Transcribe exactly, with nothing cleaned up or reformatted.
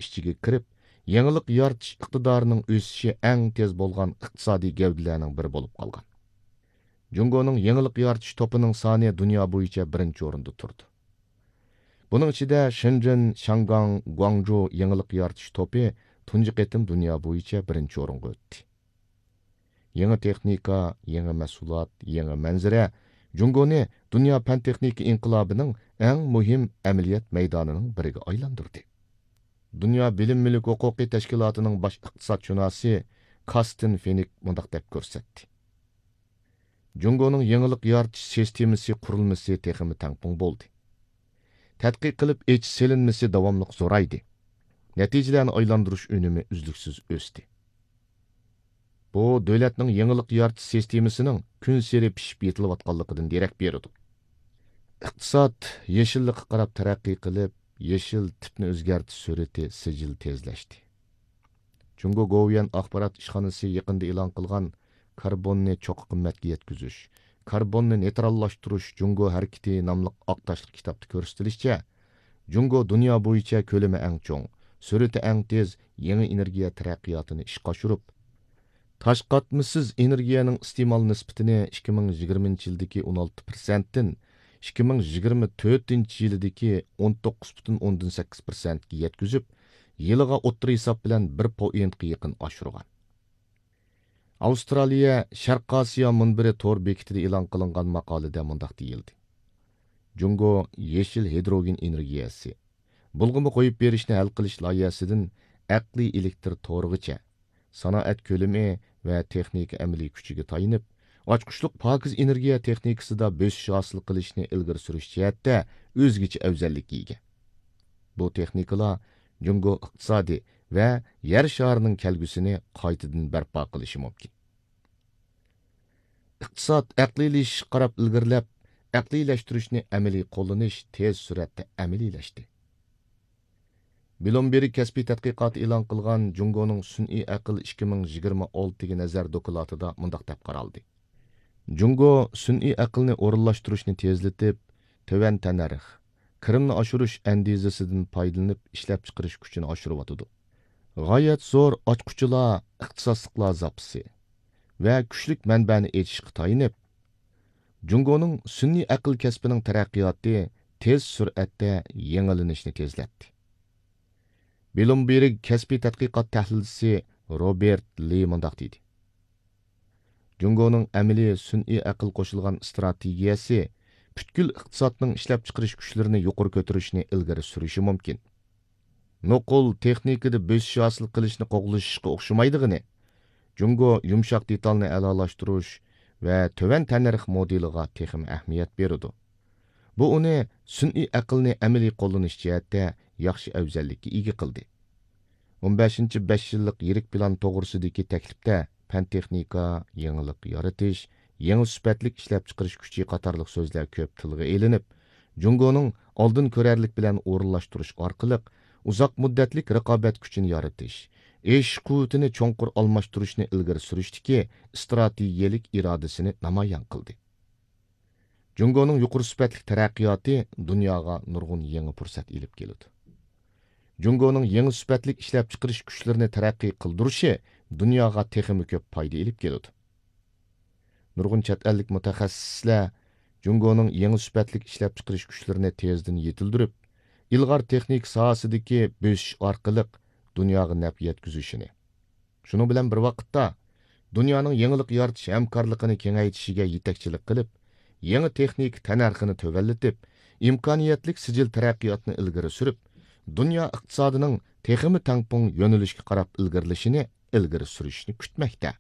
ئىچىگە كىرىپ، يېڭىلىق يارىتىش ئىقتىدارىنىڭ ئۆسۈشى ئەڭ تېز بولغان ئىقتىسادىي گەۋدىلەرنىڭ بىرى بولۇپ قالغان. جۇڭگونىڭ يېڭىلىق يارىتىش توپىنىڭ سانى دۇنيا بويىچە بىرىنچى ئورۇندا تۇرىدۇ. بۇنىڭ ئىچىدە شېنجېن، شياڭگاڭ، گۇاڭجۇ يېڭىلىق يارىتىش توپى تۇنجى قېتىم دۇنيا بويىچە بىرىنچى ئورۇنغا ئۆتتى. يېڭى تېخنىكا، يېڭى مەھسۇلات، يېڭى مەنزىرە جۇڭگونى دۇنيا پەن-تېخنىكا ئىنقىلابىنىڭ ئەڭ مۇھىم ئەمەلىيەت مەيدانىنىڭ بىرىگە ئايلاندۇردى. دۇنيا بىلىم مۈلۈك ھوقۇقى تەشكىلاتىنىڭ باش ئىقتىسادشۇناسى كاستىن فىنك مۇنداق دەپ كۆرسەتتى: جۇڭگونىڭ يېڭىلىق يارىتىش سىستېمىسى قۇرۇلمىسى تېخىمۇ تەڭپۇڭ بولدى. تەتقىق قىلىپ ئېچىش سېلىنمىسى داۋاملىق زورايدى. نەتىجىلەرنى ئايلاندۇرۇش ئۈنۈمى ئۈزلۈكسىز ئۆستى. بۇ دۆلەتنىڭ يېڭىلىق يارىتىش سىستېمىسىنىڭ كۈنسېرى پىشىپ يېتىلىۋاتقانلىقىدىن دېرەك بېرىدۇ. ئىقتىساد يېشىللىققا قاراپ تەرەققىي قىلىپ، يېشىل تىپنى ئۆزگەرتىش سۈرئىتى سىجىل تېزلەشتى. جۇڭگو گوۋۇيۈەن ئاخبارات ئىشخانىسى يېقىندا ئېلان قىلغان كاربوننى چوققا قىممەتكە يەتكۈزۈش، كاربوننى نېيتراللاشتۇرۇش جۇڭگو ھەرىكىتى ناملىق ئاق تاشلىق كىتابتا كۆرسىتىلىشىچە، جۇڭگو دۇنيا بويىچە كۆلىمى ئەڭ چوڭ، سۈرئىتى ئەڭ تېز يېڭى ئېنېرگىيە تەرەققىياتىنى ئىشقا ئاشۇرۇپ، تاش قاتمىسىز ئېنېرگىيەنىڭ ئىستېمال نىسبىتىنى ئىككى مىڭ يىگىرمىنچى يىلدىكى ئون ئالتە پىرسەنتتىن ئىككى مىڭ يىگىرمە تۆتىنچى يىلىدىكى ئون توققۇز پۈتۈن ئوندىن سەككىز پىرسەنتكە يەتكۈزۈپ، يىلىغا ئوتتۇرا ھېساب بىلەن بىر پوئىنتقا يېقىن ئاشۇرغان. ئاۋسترالىيە شەرقىي ئاسىيا مۇنبىرى تور بېكىتىدە ئېلان قىلىنغان ماقالىدە مۇنداق دېيىلدى: جۇڭگو يېشىل ھىدروگېن ئېنېرگىيەسى، بۇلغىما قويۇپ بېرىشنى ھەل قىلىش لايىھەسىدىن ئەقلىي ئېلېكتر تورىغىچە، سانائەت كۆلىمى ۋە تېخنىكا ئەمەلىي كۈچىگە تايىنىپ، ئاچقۇچلۇق پاكىز ئېنېرگىيە تېخنىكىسىدا بۆسۈش ھاسىل قىلىشنى ئىلگىرى سۈرۈش جەھەتتە ئۆزگىچە ئەۋزەللىككە ئىگە. بۇ تېخنىكىلار جۇڭگو ئىقتىسادى ۋە يەر شارىنىڭ كەلگۈسىنى قايتىدىن بەرپا قىلىشى مۇمكىن. ئىقتىساد ئەقلىيلىشىشقا قاراپ ئىلگىرىلەپ، ئەقلىيلەشتۈرۈشنى ئەمەلىي قوللىنىش تېز سۈرئەتتە ئەمەلىيلەشتى. بلومبېرگ كەسپىي تەتقىقاتى ئېلان قىلغان جۇڭگونىڭ سۈنئىي ئەقىل ئىككى مىڭ يىگىرمە ئالتىگە نەزەر دوكلاتىدا مۇنداق دەپ قارالدى: جۇڭگو سۈنئىي ئەقىلنى ئورۇنلاشتۇرۇشنى تېزلىتىپ، تۆۋەن تەننەرخ، كىرىمنى ئاشۇرۇش ئەندىزىسىدىن پايدىلىنىپ ئىشلەپچىقىرىش كۈچىنى ئاشۇرۇۋاتىدۇ. غايەت زور ئاچقۇچىلار، ئىختىساسلىقلار زاپىسى ۋە كۈچلۈك مەنبەنى ئېچىشقا تايىنىپ، جۇڭگونىڭ سۈنئىي ئەقىل كەسپىنىڭ تەرەققىياتى تېز سۈرئەتتە يېڭىلىنىشنى تېزلەتتى. بلومبېرگ كەسپىي تەتقىقات تەھلىلچىسى روبېرت لى مۇنداق دېدى: جۇڭگونىڭ ئەمەلىي سۈنئىي ئەقىل قوشۇلغان ئىستراتېگىيەسى پۈتكۈل ئىقتىسادنىڭ ئىشلەپچىقىرىش كۈچلىرىنى يۇقىرى كۆتۈرۈشنى ئىلگىرى سۈرۈشى مۇمكىن. نوقۇل تېخنىكىدا بۆسۈش ھاسىل قىلىشنى قوغلىشىشقا ئوخشىمايدىغىنى، جۇڭگو يۇمشاق دېتالنى ئەلالاشتۇرۇش ۋە تۆۋەن تەننەرخ مودېلىغا تېخىمۇ ئەھمىيەت بېرىدۇ. بۇ ئۇنى سۈنئىي ئەقىلنى ئەمەلىي قوللىنىش جەھەتتە ياخشى ئەۋزەللىككە ئىگە قىلدى. ئون بەشىنچى بەش يىللىق يىرىك پىلان توغرىسىدىكى تەكلىپتە پەن-تېخنىكا، يېڭىلىق يارىتىش، يېڭى سۈپەتلىك ئىشلەپچىقىرىش كۈچى قاتارلىق سۆزلەر كۆپ تىلغا ئېلىنىپ، جۇڭگونىڭ ئالدىن كۆرەرلىك بىلەن ئورۇنلاشتۇرۇش ئارقىلىق ئۇزاق مۇددەتلىك رىقابەت كۈچىنى يارىتىش، ئېشىش قۇۋۋىتىنى چوڭقۇر ئالماشتۇرۇشنى ئىلگىرى سۈرۈشتىكى ئىستراتېگىيەلىك ئىرادىسىنى نامايان قىلدى. جۇڭگونىڭ يۇقىرى سۈپەتلىك تەرەققىياتى دۇنياغا نۇرغۇن يېڭى پۇرسەت ئېلىپ كېلىدۇ. جۇڭگونىڭ يېڭى سۈپەتلىك ئىشلەپچىقىرىش كۈچلىرىنى تەرەققىي قىلدۇرۇشى دۇنياغا تېخىمۇ كۆپ پايدا ئېلىپ كېلىدۇ. نۇرغۇن چەت ئەللىك مۇتەخەسسىسلەر جۇڭگونىڭ يېڭى سۈپەتلىك ئىشلەپچىقىرىش كۈچلىرىنى تېزدىن يېتىلدۈرۈپ، ئىلغار تېخنىكا ساھەسىدىكى بۆسۈش ئارقىلىق دۇنياغا نەپ يەتكۈزۈشىنى، شۇنىڭ بىلەن بىر ۋاقىتتا، دۇنيانىڭ يېڭىلىق يارىتىش ھەمكارلىقىنى كېڭەيتىشىگە يېتەكچىلىك قىلىپ، يېڭى تېخنىكا تەننەرخىنى تۆۋەنلىتىپ، ئىمكانىيەتلىك سىجىل تەرەققىياتنى ئىلگىرى سۈرۈپ، دۇنيا ئىقتىسادىنىڭ تېخىمۇ تەڭپۇڭ يۆنىلىشكە قاراپ ئىلگىرىلىشىنى ئىلگىرى سۈرۈشنى كۈتمەكتە.